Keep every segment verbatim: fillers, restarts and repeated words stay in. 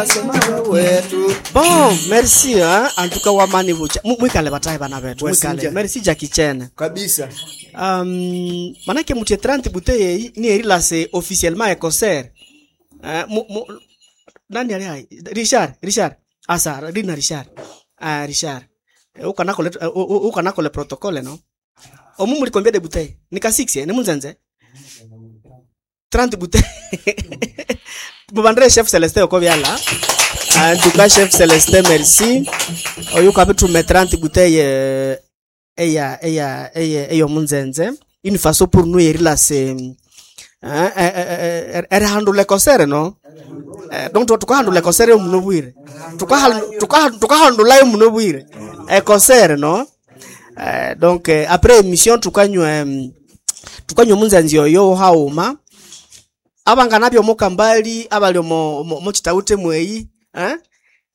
Wetu. Bon, merci hein. En tout cas wamani bucha. Mu- Mwikale batahe bana betu. Mwikale. Wasinja. Merci Jackie Chan. Kabisa. Um, manake mutie trente bouteilles ni erilase officiellement e concert. Uh, mu, mu, nani ali hai? Richard, Richard. Asa, Rina Richard. Ah, Richard. Eh, Uko nako le uko nako le protocole no? Omu muli combien de bouteilles? Nika six eh, ni munzenze. trente bouteilles. Mubandre chef Celestin oko byala. En tout cas chef Celestin merci. Oyu kabitume trente bouteilles euh, eya eya eya eyo munzenze. Une façon pour nous erilase hein, eh, eh, erihandula concert no? Eh, donc tukahandula concert yo muno bwire. Tukahandulayo muno bwire. E concert no? Eh, donc eh, après émission tukanywa mm, tukanywa munzenzi oyo hauma abangana byo mukambali abali omo mo, mo chitaute mweyi eh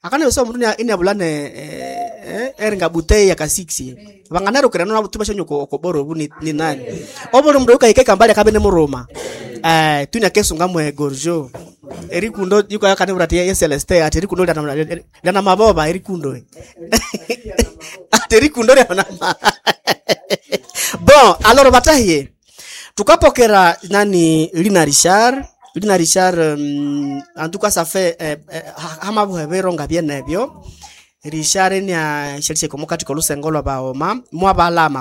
akana yosa omundu ina inabulane eh, eh, eringa butei ya kasiksi bangana rukira no butuba shanyo ko koboro bu ni, ni nani obolo mundu ukaike kambali akabe ne muruma eh tunya kesunga mwe gorjo erikundo yuko yakane burati ye Celeste ati erikundo lya lya na maboba erikundo ati erikundo lya na ma- bon alors batahiye tukapokera nani Lina Richard Lina Richard um, en tout cas ça fait eh, eh, hama buhebero nga byenebyo Richard ni a shelishe komukati kolusengo lwa baoma mwabalama.